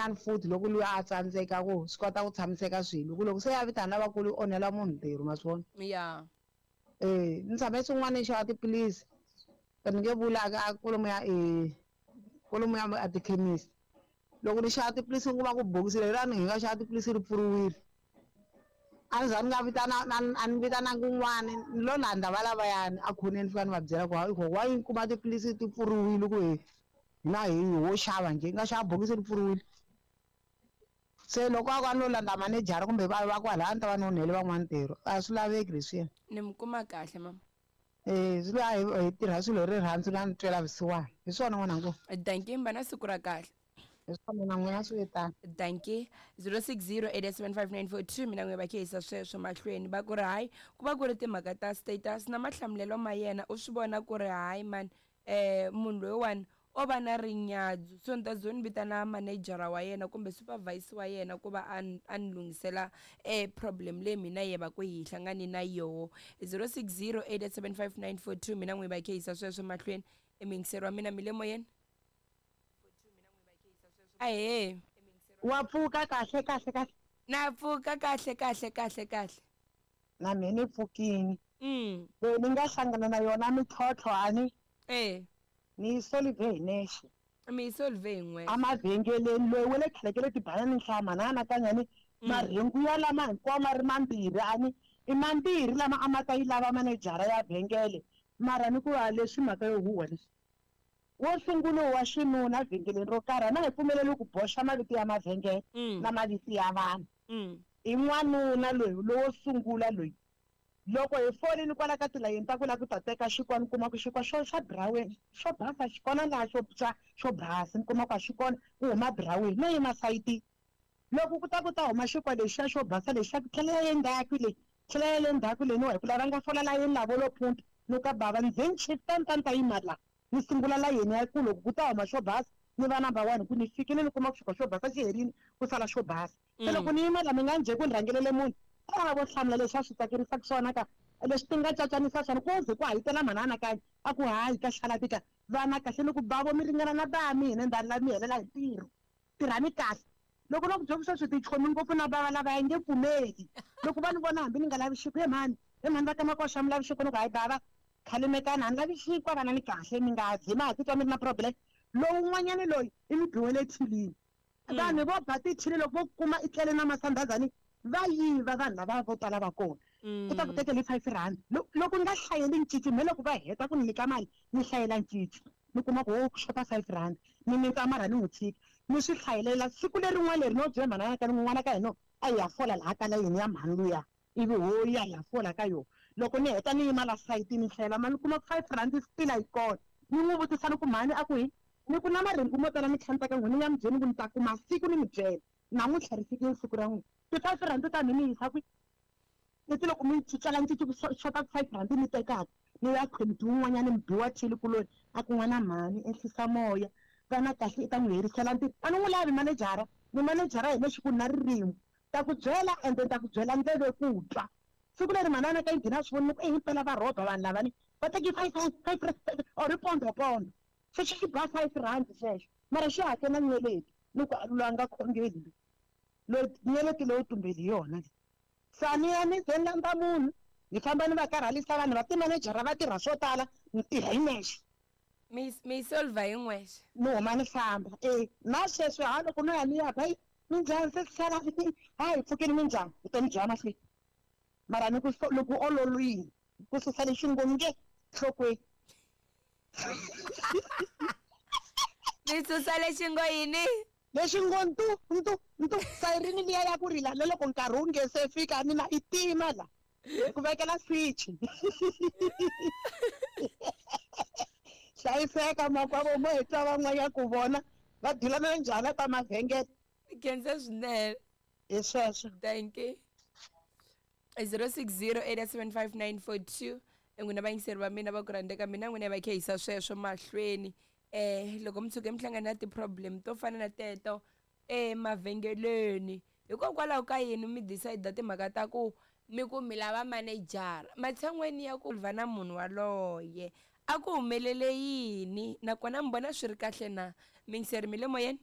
Van'wanyana futhi loko luya a tsandzeka ku swi kota ku tshamiseka swilo, ku loko se ya vitana lavakulu yi onhela munhu ntirho, ma swi vona? Ya. Eh, ni tshame swin'wana ni xava tiphilisi, ni nge vuli a kwalomuya kwalomuya a tikhemisi. Loko ni xava tiphilisi ni kuma ku bokisi leriyani hi nga xava tiphilisi ri pfuriwile. A ni za ni nga vitana a ni vitananga un'wana, ni lo landza valavayani a khoneni ni fika ni va byela ku hayi why ni kuma tiphilisi ti pfuriwile ku hi hina hi ho xava njhe, hi nga xava bokisi ri pfuriwile. Se loko a ku a ni lo landza manejara kumbe va va kwalaya a ni ta va ni onhele van'wana ntirho. A swi laveki leswiya. Ni mi kuma kahle mama. Eh, swi la hi tirha swilo hi rirhandzu na ntwela vusiwana. Hi swona n'wananga. Dankie, mi va na siku ra kahle. Hi swona na n'wina swi tano. Dankie. 0608875942 mina n'we va khehisa sweswo mahlweni va ku ri hayi ku va ku ri timhaka ta status na mahlamulelo ma yena u swi vona ku ri hayi man eh munhu loyiwani o va na rinyadzu so ni ta zo ni vitana manejara wa yena kumbe supervisor wa yena ku va a a ni lunghisela e problem leyi mina ye va ku hi hlangane na yoho. 0608875942 mina n'wi va khehisa sweswo mahlweni. Emiyingiseri wa mina mi le moyeni? Ahee. Wa pfuka kahle kahle kahle. Na pfuka kahle kahle kahle kahle. Na mina ni pfukini. Leyi ni nga hlangana na yona mintlhontlho a ni. Eh. Ni yi solve hi nexe. Mi yi solve hi n'wexe. Emavhengeleni loyi wa le khale ka le tibanana nhlama na anakanya ni marhengu ya lama hinkwawo ma ri mambirhi a ni i mambirhi lama a ma ta yi lava manejara ya vhengele mara ni ku a leswi mhaka yo huhwa leswi. Wo sungula wa xinuna vhengeleni ro karhi a na hi pfumeleli ku boxa mavito ya mavhengele na mavito ya vanhu. I n'wanuna loyi lowo sungula loyi. Loko hi folini kwala ka tilayeni ta ku la ku ta teka xinkwa ni kuma ku xinkwa xo xa buraweni xo basa xi kona laha xo xa xo basa ni kuma ku a xi kona ku huma buraweni no yima sayitini. Loko ku ta ku ta huma xinkwa lexiya xo basa lexiya ku tlhela ya le ndzhaku le tlhela ya le ndzhaku le ni wa hi ku lava nga fola layeni lavo lo phunta ni ku ka bava ni ze ni chifta ni ta ni ta yima la ni sungula layeni ya ku loko ku ta huma xo basa ni va number one hi ku ni fikile ni kuma ku xinkwa xo basa xi herile ku sala xo basa. Se loko ni yima la mi nga njhe ku ni rhangelele munhu a vo hlamula leswi a swi tsakerisaka swona ka leswi ti nga cacanisa swona ku ze ku hayitela mhani anakanya a ku hayi ka xalabi ka vana kahle ni ku bavo mi ringana na ba mina ndani la mi helela hi ntirho tirhani kahle loko no ku byela ku sweswi tichomi ngopfu na bava lava ya nge pfumeli loko va ni vona hambi ni nga lavi xinkwa he mhani he mhani va ka makoxa mi lavi xinkwa ni ku hayi bava khalimekani a ni lavi xinkwa vana ni kahle mi nga ze ma ha titwa mi ri na problem lowun'wanyana loyi i mi biwele thilini Vanhu vo ba tithini loko vo kuma i tlele na masandhazani va yiva vanhu lava vo tala va kona. U ta ku tekela hi 5 rand. Loko ni nga hlayeli ncici me loko va heta ku ni nyika mali ni hlayela ncici ni kuma ku ho ku xota 5 rand ni mitsa marha ni n'wi tshika ni swi hlayelela siku lerin'wana leri no byela mhana ka ni n'wana ka hina a hi ya fola laha ka layeni ya mhani luya ivi ho ya hi ya fola ka yona loko ni heta ni yima la sayitini ni hlayela mali ni kuma ku 5 rand still a yi kona ni n'wi vutisa ni ku mhani a ku hi Ni ku na marhengu mo tala ni tlhela ni ta ka n'wina, ni nga mi byeli ku ni ta kuma siku ni mi byela. Namuntlha ri fikile siku ra n'wina. Ti-five rand ta mina mi yisa kwihi? Leti loko mi cincela cinci ku xota ti-five rand mi tekaka mi ya khwemiti wun'wanyana mi biwa thili kuloni a ku n'wana mhani ehlisa moya vana kahle i ta n'wi herisela ntirho. A ni n'wi lavi manejara, ni manejara hi lexi ku ni na ririmi. Ta ku byela ende ni ta ku byela ndleve ku twa. Siku leri manana ka yi nghena a swi vonile ku e himpela va rhoba vanhu lavani va teke five rand five rand or i pondho pondho. Xexo xi ba 5 rand xexo mara xi hakela nyeleti loko a loyi a nga khongeli loyi nyeleti leyo tumbeli hi yona leyi se a ni ya ni ze ni landza munhu ni famba ni va karhalisa vanhu va timanejara va tirha swo tala ni tirha hi nexe. Mi mi yi solver hi n'wexe. Ni huma ni famba e na sweswi ha loko no ya ni ya ba minjhani se sala ha hi pfukini minjhani vutomi byi ya mahlweni mara ni ku loko ololwini ku susa lexi ngo nge nhlokweni. Mi susa lexi ngo yini? Lexi ngo ntu ntu ntu sayirini liya ya ku rila na loko nkarhi wu nge se fika mina i tima la ku vekela switch. Hlayiseka makwavo mo hi twa van'wanyana ku vona va dilana njhani ta mavhengele. Khensa swinene. Hi sweswo. Thank you. 06087594 n'wina vayingiseri va mina va ku rhandzeka mina n'wina va khehisa sweswo mahlweni loko mi tshuke mi hlangana na ti-problem to fana na teto emavhengeleni hikokwalaho ka yini mi decide timhaka ta ku mi ku mi lava manejara matshan'weni ya ku va na munhu waloye a ku humelele yini nakona mi vona swi ri kahle na miyingiseri mi le moyeni?